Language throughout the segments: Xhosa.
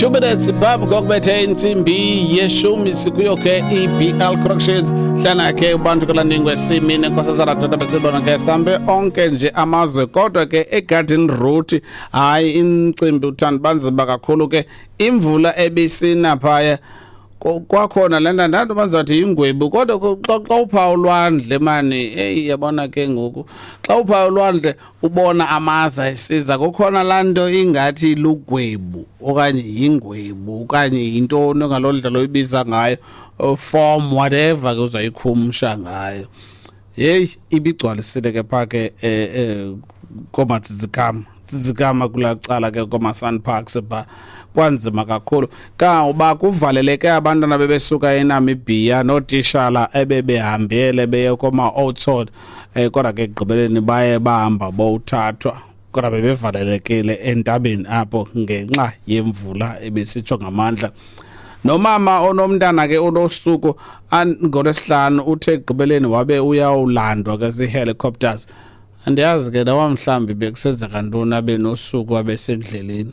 2 minutes phambi kokubethe intsimbi yeshumi, sikuyo ke i-BL Corrections. Hlana ke ubantu kalaningwe simini nkosazana doda, besibona ke sambe onke nje amazwe, kodwa ke eGarden Route, hayi, imicimbi uthanda banzima kakhulu ke. Imvula ebisina phaya, kwakhona le nto ndanto bazathi yingwebu, kodwa xa upha ulwandle mani, eyi, yabona ke ngoku xa upha ulwandle ubona amaza esiza, kukhona laa nto ingathi lugwebu okanye yingwebu okanye yintoni ngaloo ndlela oyibiza ngayo, form whatever ke uzayikhumsha ngayo. Yeyi, ibigcwalisile ke phaa ke koomatsidzikama tsidzikama kulaa cala ke koomaSANParks phaa, kwanzima kakhulu kangoba kuvaleleke abantwana bebesuka eNamibia nootishala ebebehambele beye kooma-Oudtshoorn, kodwa ke ekugqibeleni baye bahamba bowuthathwa, kodwa bebevalelekile entabeni apho ngenxa yemvula ebisitsho ngamandla. Nomama onomntana ke unosuku ngolwesihlanu uthe ekugqibeleni wabe uyawulandwa ke zii-helicopters. Andiyazi ke noba mhlawumbi bekusenzeka ntoni abe nosuku abesendleleni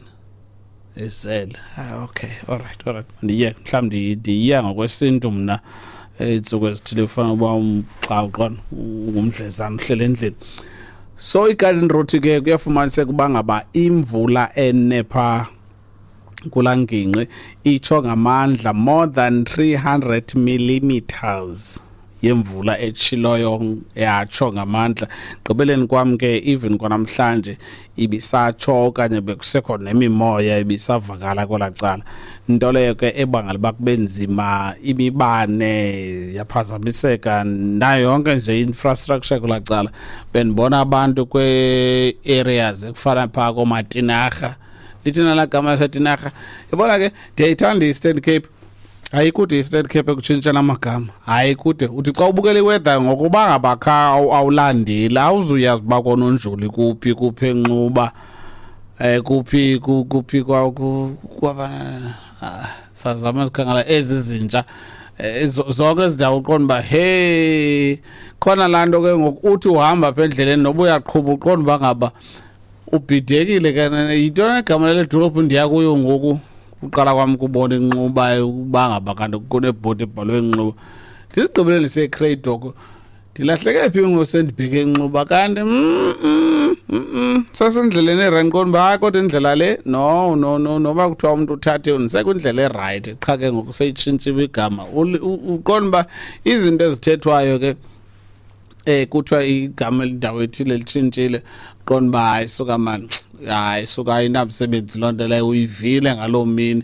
ezele. Ah, okay, alright, ndiyeke mhlawumbi ndiyiya ngokwesintu mna. Iintsuku ezithile kufanele uba xa uqona ungumdlezana uhlele endlini. So iGarden Route ke kuyafumaniseka uba ngaba imvula enepha kulaa ngingqi itsho ngamandla, more than 300 millimeters yemvula etshiloyo, yatsho ngamandla. Gqibeleni kwam ke, even kwanamhlanje ibisatsho okanye bekusekho nemimoya ibisavakala kwelaa cala, nto leyo ke ebangela uba kube nzima, imibane yaphazamiseka nayo yonke nje infrastructure kulaa cala. Bendibona abantu kwee-areas ekufana phaa koomatinarha, lithina laa gama lasetinarha, yabona ke ndiyayithanda i-Eastern Cape. Ayikude i-Eastern Cape ekutshintsheni amagama, hayi kude. Uthi xa ubukela iweather ngokuba ngaba kha awulandeli, awuzuyazi uba koNonjoli kuphi, kuphi eNxuba, kuphi kuphi kwaba sazama sikhangela ezi zintsha, zonke ezi ndawo uqonda uba hey, khona laa nto ke ngoku uthi uhamba apha endleleni noba uyaqhuba, uqonda uba ngaba ubhidekile ke, yintoni egama lale dolophu ndiya kuyo ngoku? Uqala kwam kubona inxuba, uba ngaba kanti kunebhodi ebhalwe Nxuba, ndizigqibele ndiseCradock, ndilahleke phi ngoku sendibheke eNxuba? Kanti sasendleleni erayithi, qonda uba hayi, kodwa indlela le, no no no, noba kuthiwa umntu uthathe ndisekwindlela erayithi, qha ke ngoku seyitshintshiwe igama. Uqonda uba izinto ezithethwayo ke, kuthiwa igama elindawo ethile litshintshile, qonda uba hayi suka mani, hayi suka, ayinamsebenzi loo nto leyo uyivile ngaloo mini.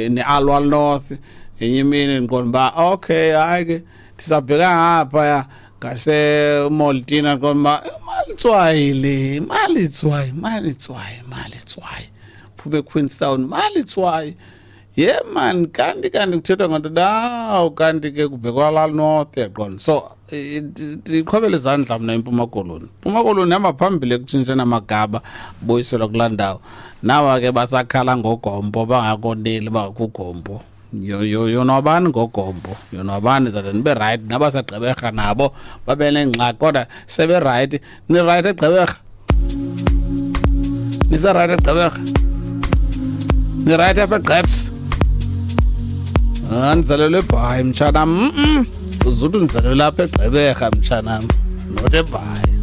Ne-Aliwal North ngenye imini ndiqonda uba okay, hayi ke ndisabheka ngaphaya ngaseMoltina, qonda uba Malitswayi le, Malitswayi, Malitswayi, Malitswayi, phume eQueenstown, Malitswayi, ye man, kanti kuthethwa nganto dawo, kanti ke kubhekwa laa north, yaqonda. So ndiqhobela izandla mna iMpuma Koloni. Mpuma Koloni hamba phambili ekutshintsheni amagaba, buyiselwa kulaa ndawo. Nawa ke basakhala ngogompo, bangakoneli bakugompo. Yonwabani ngogompo, yonwabani zade nibe rayithi. Nabasegqeberha nabo babe nengxaki, kodwa seberayithi. Nirayithi eGqeberha? Niserayithi eGqeberha? Nirayithi apha eGqebs? Ah, ndizalelwe eBhayi, mtshanam. Uzuthi ndizalelwe apha eGqeberha, mtshanam, not eBhayi.